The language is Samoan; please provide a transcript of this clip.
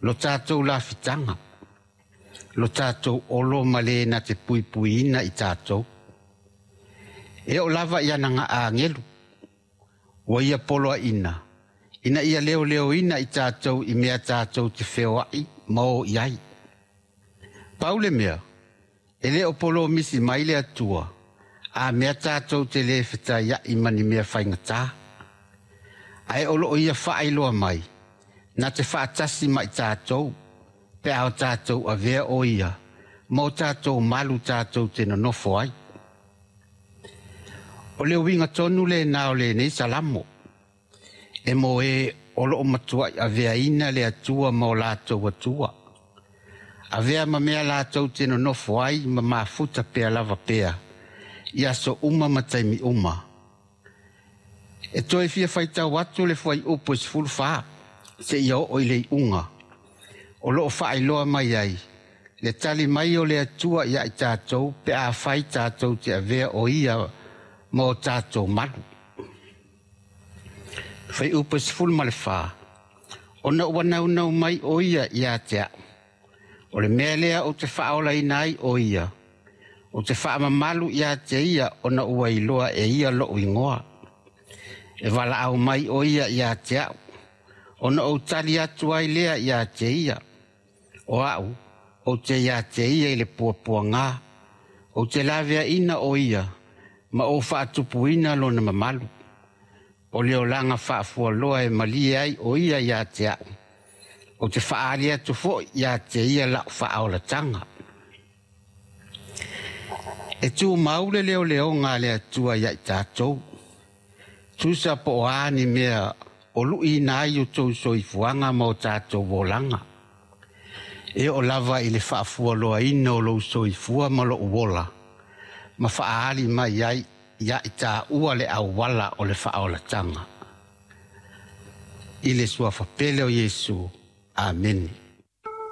Lo tatou lafitaga, lo tatou olo ma le na te puipuiina i tatou. E oo lava i ana agelu, ua ia poloaiina, ina ia leoleoina i tatou i mea tatou te feoai ma o i ai. Pau le mea, e le o polomisi mai le Atua, a mea tatou te le fetaiai ma ni mea faigata. Ae o loo ia faailoa mai, na te faatasi ma i tatou, pe a o tatou avea o ia, ma o tatou malu tatou te nonofo ai. O le uiga tonu lena o lenei Salamo, e mo e o loo matuai aveaina le Atua ma o latou Atua. Avea ma mea latou te nonofo ai ma mafuta pea lava pea, i aso uma ma taimi uma. E toe fia faitau atu le fuaiupu e 14, seia oo i le iuga, o loo faailoa mai ai, le tali mai o le Atua ia i tatou pe afai tatou te avea o ia ma o tatou malu. Fuaiupu e 14, ona ua naunau mai o ia ia te au. O le mea lea ou te faaolaina ai o ia, ou te faamamalu ia te ia ona ua iloa e ia lou igoa. E valaau mai o ia ia te au, ona ou tali atu ai lea ia te ia. O au, ou te ia te ia i le puapuaga, ou te laveaina o ia, ma ou faatupuina lona mamalu. O le olaga faafualoa e malie ai o ia ia te au, ou te faaali atu foi ia te ia lau faaolataga. E tumau le leoleoga a le Atua ia i tatou, tusa po o a ni mea o luiina ai o tou soifuaga ma o tatou olaga. E oo lava i le faafualoaina o lou soifua ma lou ola, ma faaali mai ai ia i taua le auala o le faaolataga. I le suafa pele o Iesu. Amene.